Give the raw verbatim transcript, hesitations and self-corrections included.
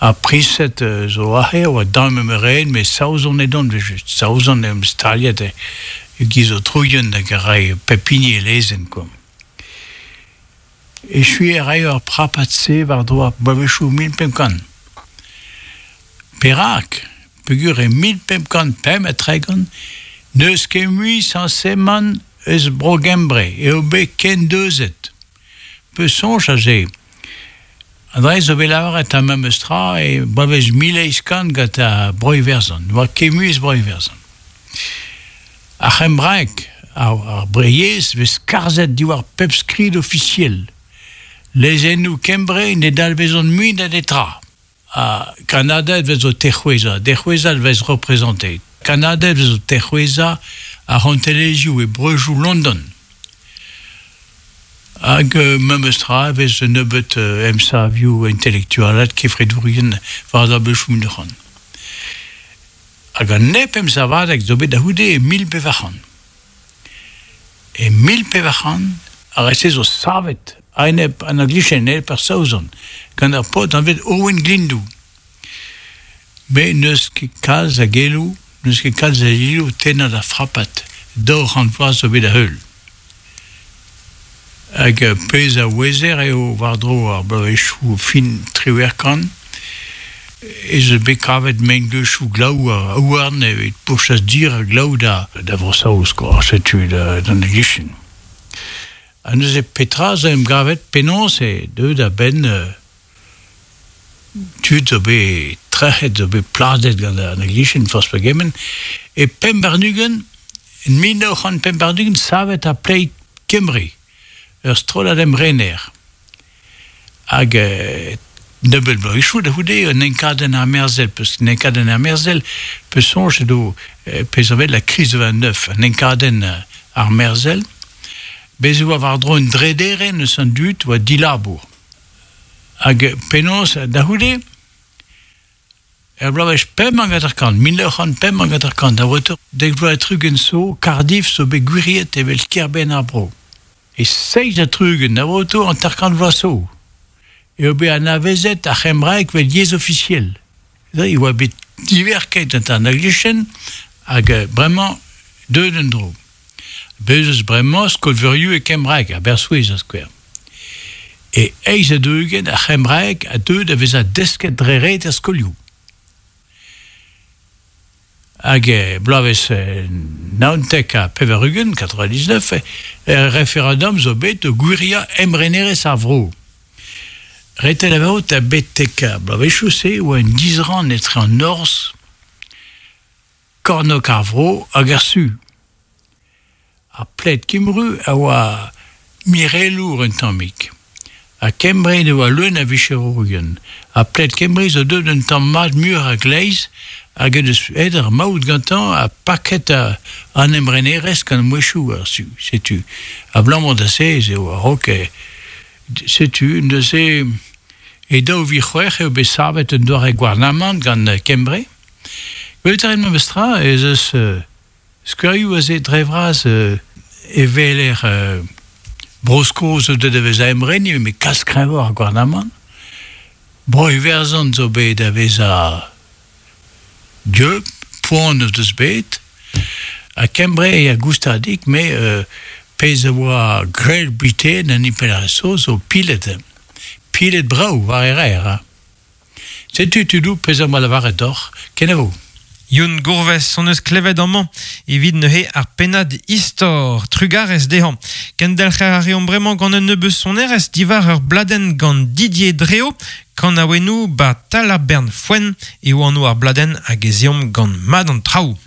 Ar priñsed zo aze a oa damm emren, met Saozon edont evel-just. Saozon em staliet e-giz aotrouien hag a rae pep hini e lezenn kwa. Echuiñ a raio ar prapad-se war-dro ar bloavezhioù mil pemp kant. Perak? Peogwir e mil pemp kant pemp ha tregont n'eus ket mui sañsemant eus Bro-Gembre eo bet kendeuzet. Peus soñj aze? An dra zo bet lavaret ar memes tra e bloavezh mil eizh kant gant ar Bro-Iwerzhon. Ne oa ket mui eus Bro-Iwerzhon. Ar c'hembraeg, ar, ar breyezh, vez skarzhet diwar pep skrid ofisiel. Lezennoù Kembre ne dalvezont mui da netra. Ha kannaded vez o tec'houezañ, dec'houezañ vez représenté. Kannaded vez o tec'houezañ ar c'hontelezhioù e breujoù London. Hag euh, memes tra e vez un nebeut euh, emsavioù intelektualad kefredourien war ar beuchoù mil c'hant. Hag an nep emsavadeg zo bet da c'houde e mil pevar c'hant. E mil pevar c'hant, ar re-se zo savet a-enep an Anglicien, enep ar Saozon, gant ar paotr anvet Owen Glyndŵr. Met n'eus ket kalz a geloù, n'eus ket kalz a geloù tennañ da frapad daou c'hant vloaz zo bet da heul. Hag pezh a ouezer eo war-dro ar bloavezhioù fin triwec'h kant, ez eus bet kavet mengleuzioù glaou ha houarn evit pourchas dir ha glaou da, da Vro-Saoz, kwa, setu da, d'an Anglicien. Ha neuze petra zo em gavet penaos eo deuet a-benn euh, tud zo bet trec'het, zo bet pladet gant an Anglicien, forzh pegement, e pemp warn-ugent, en mil nav c'hant pemp warn-ugent, savet ar Plaid Cymru, ur strollad emrener. Hag euh, nebeut bloavezhioù da c'houde un enkadenn armerzhel, peus un enkadenn armerzhel, peus soñj edo euh, pezh a la crise vingt-neuf, un enkadenn armerzhel, bez e oa war-dro un drederenn eus an dud oa dilabour. Hag penaos da c'houde, er bloavezh pemp hag hanter-kant, mil nav c'hant pemp hag hanter-kant, da vreutañ dek vloaz ha tri-ugent zo, Cardiff zo bet gwiriet evel kêr-benn ar vro. E seizh ha tri-ugent, da vreutañ hanter-kant vloaz zo, eo bet anavezet ar c'hembraeg evel yezh ofisiel. E oa bet diverket an Anglicien hag bremañ deuet en-dro. Bez eus bremañ skol-veurioù e kembraeg, Aberystwyth da skouer. E eizh ha daou-ugent ar c'hembraeg a deu da vezañ desket dre ret er skolioù. Hag e bloavezh naontek ha pevar-ugent, quatre-vingt-dix-neuf, e referendum zo bet o gwiriañ emrenerezh ar vro. Ret eo lavarout ha betek ar bloavezhioù-se oa un disrann etre an norzh, kornôg ar vro hag ar su. Ar Plaid Cymru a oa mirelour un tammig. Ha Kembre ne oa leun a vicherourien. Ar Plaid Cymru zo deuet un tamm mat muioc'h a-gleiz hag eus aet ar maout gantañ ha paket an emrenerezh gant mouezhioù ar su. Setu. Abalamour da se ez eo a-raok setu neuze e daou vil c'hwec'h eo bet savet un doare gouarnamant gant Kembre. Gwelet a rit memes tra ez eus skouerioù aze dre vras e weler Bro-Skos zo deuet da vezañ emren, met kalz kreñvoc'h ar gouarnamant. Bro-Iwerzhon zo bet da vezañ dieub, poan o deus bet. Ha Kembre e a goustadik, met euh, pezh a oa Great Britain an impalaeriezh zo pilet. Pilet brav war e rer. Ha. Setu tudoù pezh am boa lavaret deoc'h, kenavo. Youn Gourves hon eus klevet amañ evit neuze ar pennad istor trugarez dezhañ. Kendelc'her a reomp bremañ gant un nebeud sonerezh diwar ur bladenn gant Didier Dreo, kanaouennoù ba Talabern Foenn eo anv ar bladenn hag ez eomp gant mat an traoù.